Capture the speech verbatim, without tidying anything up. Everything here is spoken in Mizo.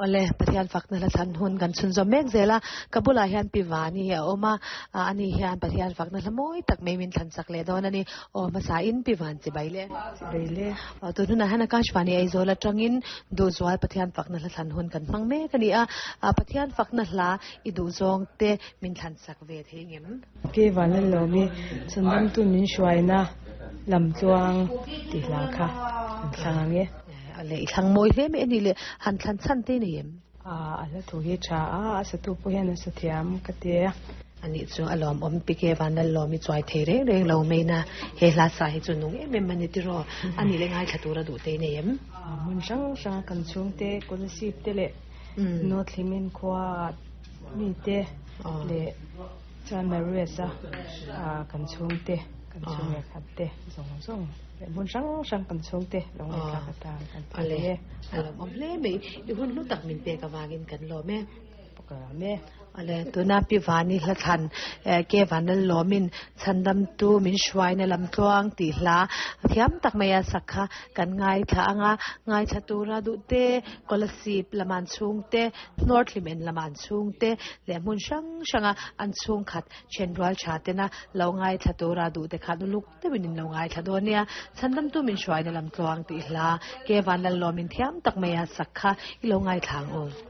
Ole Pathian fakna hla thlan hun kan chhunzawm mek zel a, ka bulah hian Pi Vani a awm a, ani hian Pathian fakna hla mawi tak mai min thlan chak leh dawn a ni. Aw hmasa in Pi Van chibai le. Chibai le. Aw tun hunah hian Akashvani Aizawl atangin Duhzual Pathian fakna hla thlan hun kan hmang mek a ni a, Pathian fakna hla i duhzawng te min thlan chak ve thei ngem? Pi Van Lalawmi chhundamtu min hruaina lamtluang tih hla kha an thlang ang e. Ale i thlang mawi hle mai a ni le, han thlan chhan te nei em? A a hla thu hi tha a, a satu pawh hian a sa thiam ka ti a. Anih chu a lawmawm Pike Vanlalawmi chuai thei reng reng lo mai na, he hla sa hi chu nung em em a ni tiraw, a nih le ngaithla tura duh te nei em? A hmun hrang hrang kan chhungte Kolasib te leh North Hlimen khua mite leh chuan Marius a kan chhungte kan chhung leh khat te zawng zawng leh hmun hrang hrang kan chhungte lo ngaihthlak atan kan phal e. A lawmawm hle mai, i hun hlu tak min pek avangin kan lawm e. Ka lawm e. Ale tuna Pi Vani hla thlan ke Vanlalawmin chhandamtu min hruaina lamtluang tih hla thiam tak mai a sak kha kan ngaithla anga ngaithla tura duh te Kolasib lama an chhungte, North Hlimen lama an chhungte leh hmun hrang hranga an chhungkhat thenrual tha tena lo ngaithla tura duh te khan uluk deuhin in lo ngaithla dawn nia. Chhandamtu min hruaina lamtluang tih hla ke Vanlalawmin thiam tak mai a sak kha i lo ngaithla ang u.